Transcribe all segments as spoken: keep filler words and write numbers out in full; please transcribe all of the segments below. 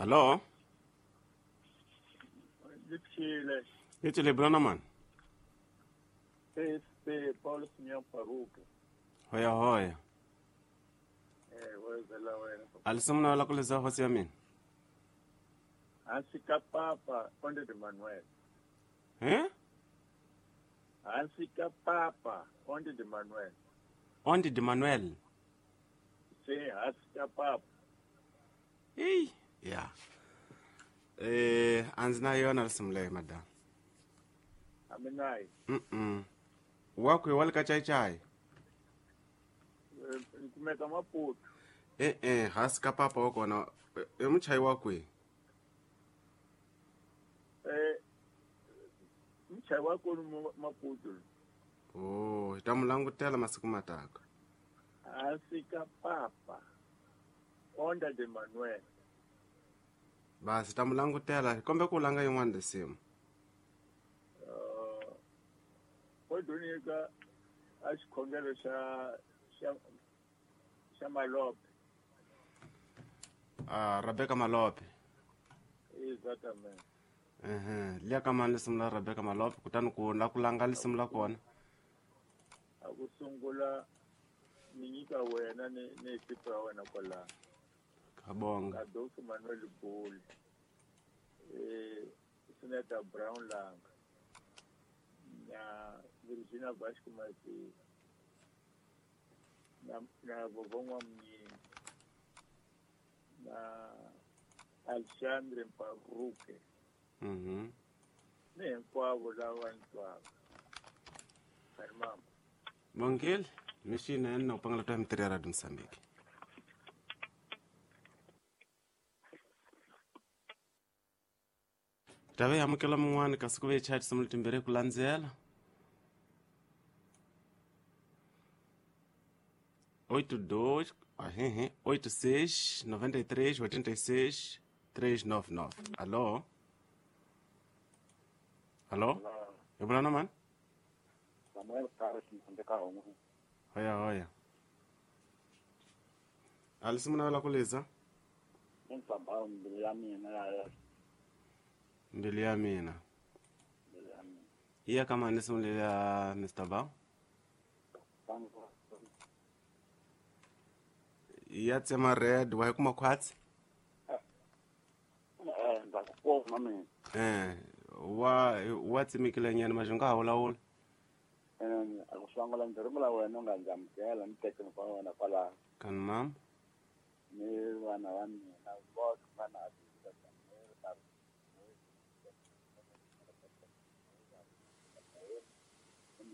Hallo? Lipshile. Yetile bwana man. P S P Paulo Simeon Paruka. Hoya hoya. Eh, wezela wena. Alisimna wala kuleza hosi ya mina. Hansi ka papa Onde de Manuel. Eh? Hansi ka papa Onde de Manuel. Onde de Manuel. Sim, hansi ka papa. Ei, ya. Eh, anzina yona lisimle madam. Aminai. Mm. Wakwe walika chai chai. Nkumeka Maputo. Eh eh, hansi ka papa wakona. E muchai wakwe. Eh, muchai wakwe Maputo. Oh, tamulangutela masiku mataka. Hansi ka papa Onda de Manuel. Basi tamulangutela kombe kulanga yin'wana risimu. Uh, Odunika a xikhongelo xa xa xa Malope. Ah, Rebecca Malope. Exactamente. Eh, liya ka mani risimu la Rebecca Malope kutani ku la ku langa risimu la kona. A ku sungula ni nyika wena ni ni ekipa ya wena kwalano. Kabonga. Adolfo Manuel Boli. Eh, Senator Brown Lang. Na Virginia Vasco Martins. Na na Vovó Mnini. Na Alexandre Mparuke. Mhm. Ni hinkwavo lava ni twaka. Mama. Bongile, mishina ena upangala twa mtiri ya Radio Msambiki. Tave yamukela mun'wana kasi ku ve chat simu timbirhi ku landzela. oito dois, ahehe, oito seis, noventa e três, oitenta e seis, três nove nove. Alô? Alô? Eu vou lá não, mano? Samuel Carlos Mtandeka Omu. Hoya hoya. Alice muna wala kuleza? Msambao mbili ya mina ya. Mbili ya mina. Mbili ya mina. Iya kama nisimu ya Mister Ba? Iya tsema red wa kuma kwatsi? Eh, ndakukoma mina. Eh, wa wa tsemekile nyana majunga ha wula. Eh, akusangula ndirumula wena unganjamukela ni teke ni wena kwala. Kan mam? Ni vana va mina vose vana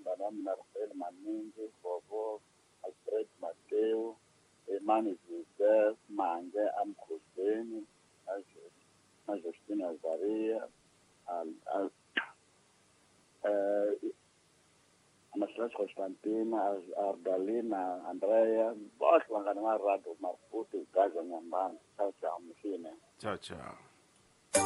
vana mina Rafael Maningi, Bobo, Alfred Mateo, Emmanuel Joseph, Mange, Amkhoseni, na Justina Zaria, al al eh Anastas Constantina, Ardalina, Andrea, both vanghana va Radio Maputo, Gaza Nyambana. Ciao ciao, mfine. Ciao ciao.